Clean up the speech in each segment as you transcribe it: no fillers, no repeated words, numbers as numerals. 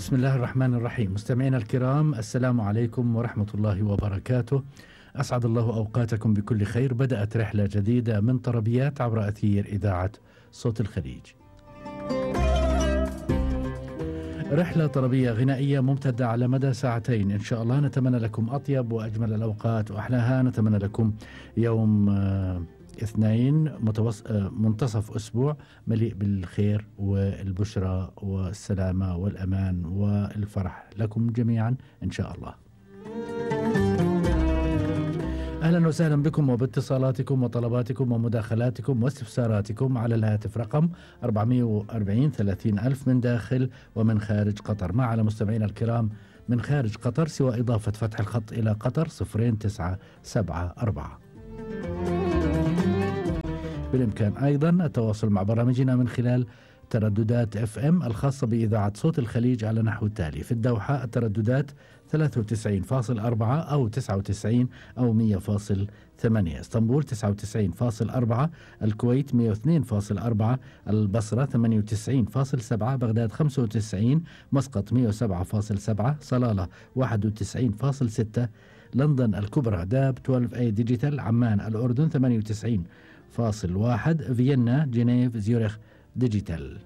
بسم الله الرحمن الرحيم. مستمعينا الكرام، السلام عليكم ورحمة الله وبركاته. أسعد الله أوقاتكم بكل خير. بدأت رحلة جديدة من طربيات عبر أثير إذاعة صوت الخليج. رحلة طربية غنائية ممتدة على مدى ساعتين إن شاء الله. نتمنى لكم أطيب وأجمل الأوقات وأحلاها. نتمنى لكم يوم اثنين منتصف أسبوع مليء بالخير والبشرى والسلامة والأمان والفرح لكم جميعا إن شاء الله. أهلا وسهلا بكم وباتصالاتكم وطلباتكم ومداخلاتكم واستفساراتكم على الهاتف رقم 440 30 ألف من داخل ومن خارج قطر. ما على مستمعينا الكرام من خارج قطر سوى إضافة فتح الخط إلى قطر 0974. بالإمكان أيضا التواصل مع برامجنا من خلال ترددات FM الخاصة بإذاعة صوت الخليج على نحو التالي: في الدوحة الترددات 93.4 أو 99 أو 100.8، اسطنبول 99.4، الكويت 102.4، البصرة 98.7، بغداد 95، مسقط 107.7، صلالة 91.6، لندن الكبرى داب 12A ديجيتال، عمان الأردن 98.1، فيينا جنيف زيورخ ديجيتال.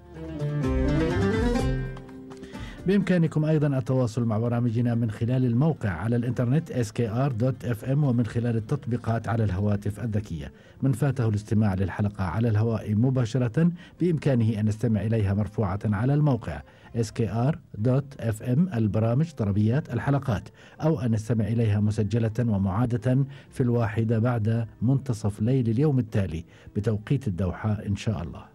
بإمكانكم أيضا التواصل مع برامجنا من خلال الموقع على الإنترنت skr.fm ومن خلال التطبيقات على الهواتف الذكية. من فاته الاستماع للحلقة على الهواء مباشرة بإمكانه أن يستمع إليها مرفوعة على الموقع skr.fm البرامج طربيات الحلقات، أو أن يستمع إليها مسجلة ومعادة في 1 بعد منتصف ليل اليوم التالي بتوقيت الدوحة إن شاء الله.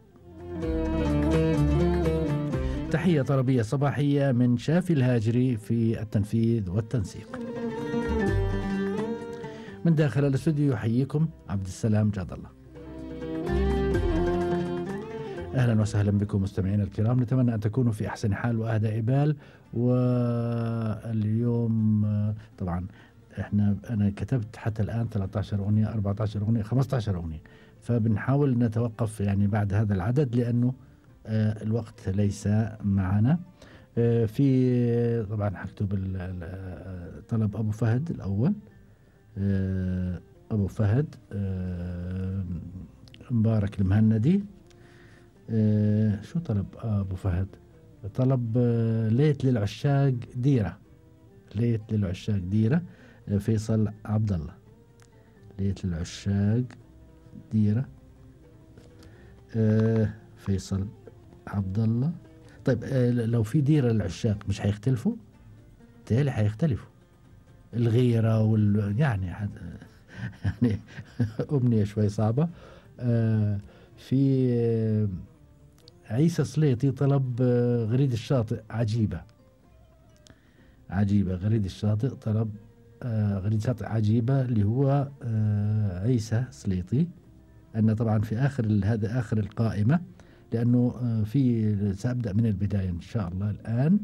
تحية طربية صباحية من شافي الهاجري في التنفيذ والتنسيق. من داخل الاستوديو يحييكم عبد السلام جاد الله. أهلا وسهلا بكم مستمعين الكرام. نتمنى أن تكونوا في أحسن حال وأهدى بال. واليوم طبعا أنا كتبت حتى الآن 13 أغنية 14 أغنية 15 أغنية، فبنحاول نتوقف يعني بعد هذا العدد لأنه الوقت ليس معنا. في طبعا هكتب طلب أبو فهد الأول. أبو فهد مبارك المهندي. شو طلب أبو فهد؟ طلب ليت للعشاق ديرة. ليت للعشاق ديرة فيصل عبد الله. ليت للعشاق ديرة فيصل عبد الله. طيب لو في ديرة للعشاق مش هيختلفوا؟ تالي هيختلفوا الغيرة يعني أمنية شوي صعبة. في عيسى سليطي طلب غريد الشاطئ عجيبة. عجيبة غريد الشاطئ طلب غريد الشاطئ عجيبة اللي هو عيسى سليطي. أن طبعا في هذا آخر القائمة لأنه سأبدأ من البداية إن شاء الله الآن.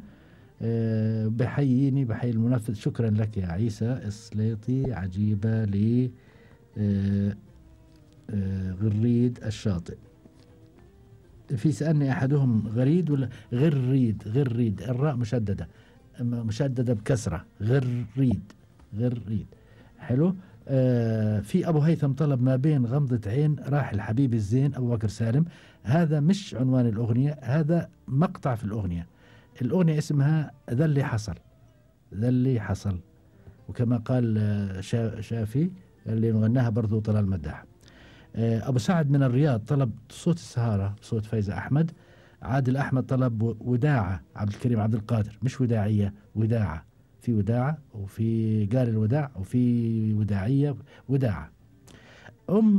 بحيي المنفذ. شكرا لك يا عيسى السليطي. عجيبة ل غريد الشاطئ. في سألني أحدهم غريد ولا غريد؟ غريد الراء مشددة بكسرة. غريد حلو. في أبو هيثم طلب ما بين غمضة عين راحل حبيب الزين أبو بكر سالم. هذا مش عنوان الأغنية، هذا مقطع في الأغنية. الأغنية اسمها ذا اللي حصل، وكما قال شافي اللي غناها برضو طلال مداح. أبو سعد من الرياض طلب صوت السهارة صوت فايزة أحمد. عادل أحمد طلب وداعة عبد الكريم عبد القادر، مش وداعية، وداعة. في وداعة وفي قال الوداع وفي وداعية وداعة.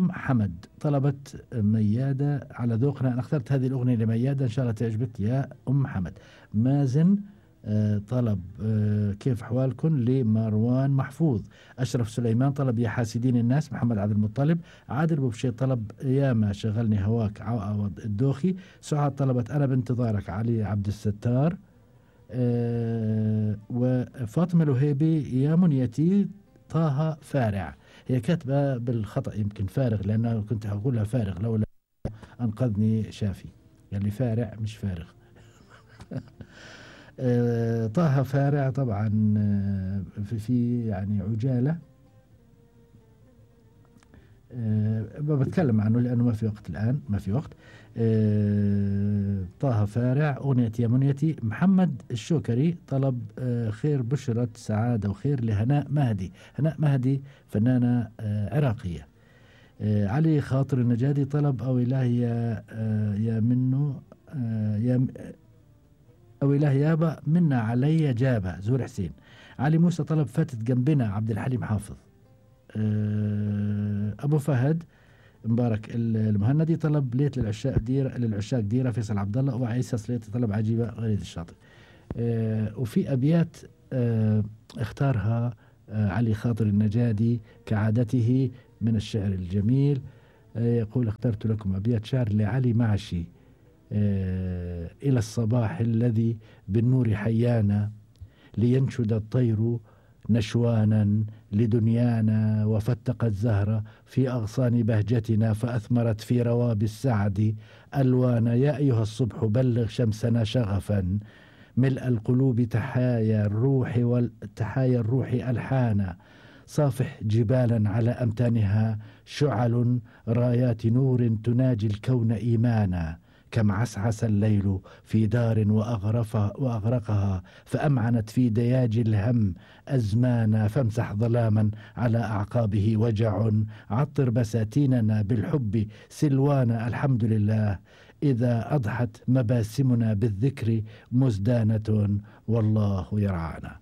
حمد طلبت ميادة على ذوقنا. أنا اخترت هذه الأغنية لميادة إن شاء الله تعجبك يا حمد. مازن طلب كيف حوالكم لمروان محفوظ. أشرف سليمان طلب يا حاسدين الناس محمد عبد المطلب. عادل بوبشي طلب يا ما شغلني هواك عوض الدوخي. سعاد طلبت أنا بانتظارك علي عبد الستار. وفاطمة الوهيبي يا منيتي طه فارع. هي كاتبة بالخطأ يمكن فارغ، لأنه كنت أقولها فارغ لولا أنقذني شافي. يعني فارع مش فارغ. طه فارع طبعا في يعني عجالة، بتكلم عنه لأنه ما في وقت الآن، ما في وقت. طه فارع أغنية يا منيتي. محمد الشوكري طلب خير بشرة سعادة وخير لهناء مهدي. هناء مهدي فنانة عراقية. علي خاطر النجادي طلب أو إلهي يا منه يا أو إلهي يابا منا علي جابة زهور حسين. علي موسى طلب فاتت جنبنا عبد الحليم حافظ. أبو فهد مبارك المهندي طلب ليت للعشاق ديرة فيصل عبد الله. وعيسى سليطي طلب عجيبة غريد الشاطئ. وفي أبيات اختارها علي خاطر النجادي كعادته من الشعر الجميل. يقول اخترت لكم أبيات شعر لعلي معشي. إلى الصباح الذي بالنور حيانا لينشد الطير نشوانا لدنيانا وفتق الزهرة في أغصان بهجتنا فأثمرت في رواب السعد ألوانا. يا أيها الصبح بلغ شمسنا شغفا ملء القلوب تحايا الروح ألحانا. صافح جبالا على أمتانها شعل رايات نور تناجي الكون إيمانا. كم عسعس الليل في دار وأغرقها فأمعنت في دياج الهم أزمانا. فامسح ظلاما على أعقابه وجع عطر بساتيننا بالحب سلوانا. الحمد لله إذا أضحت مباسمنا بالذكر مزدانة والله يرعانا.